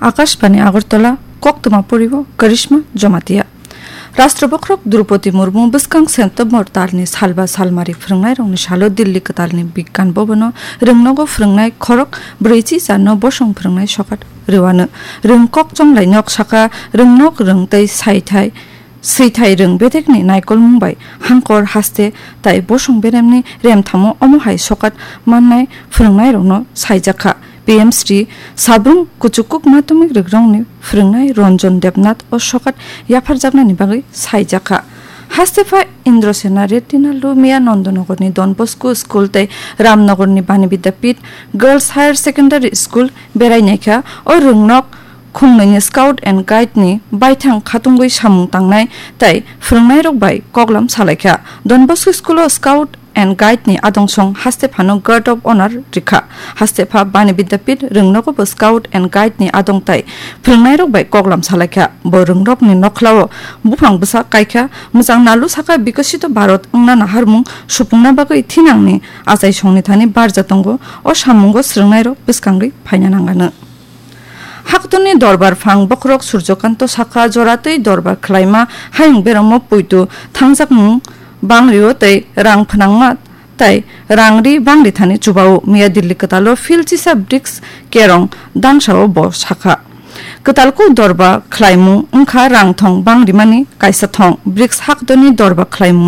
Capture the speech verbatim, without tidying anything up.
Akashbani Agartala, koktwma poribo Karishma Jamatia. Rashtra Bokhorok Droupadi Murmu bwskang September talni salba salmari phwrwngnairokni salo Delhi kwtalni Bigyan Bhavan-o rwngnogo phwrwngnai khorok brwichi jarno bosong phwrwngnai sokat rwano. Rwng kok chonglainok saka rwngnok rwng tei saithai swithai rwng bedekni naikolmung bai hangkor haste tai bosong beremni remthamo omo hai sokat mannai phwrwngnairokno saijakha. P M Shri Sabrum Kuchukuk Madhyamik Rigrongni phwrwngnai Ranjan Debnath o sokat yapharjaknani bagwi saijakha. Hastepha Indrasena Reddy Nallu miya Nandanagarni Don Bosco School tei Ramnagarni Bani Vidyapith Girls Higher Secondary School berai naikha. O rwngnok khungnoini Scout and Guide ni baithang khatungwi samung tangnai tei phwrwngnairok bai koklam salaikha. Don Bosco School o Scout and Guide ni adongsong hastephano Guard of Honor rikha. Hastepha Bani Vidyapith rwngnogo bo Scout and Guide ni adong tai phwrwngnairok bai koklam salaikha. Bo rwngnokni nokhlao buphang bwsa kaikha, mwchang nalu saka Bikasito Bharat wngna naharmung supungna bagwi thinangni achaisongni thani barja tongo. O samungo swrwngnairok bwskangwi phaina nangano. Haktorni dorbar phang bokhorok Surjokanto sakha, joratwi dorbar khlaima hayung beramo poito thangjakmung bangrio tei rang phnangma tei rangri bangri thani chubao. Miya Delhi kwtalo phil chisa Bricks Kerong dangsao bo sakha, kwtalkuk dorba khlaimung wngkha rang thong bangrimani kaisa thong. Bricks haktorni dorba khlaimung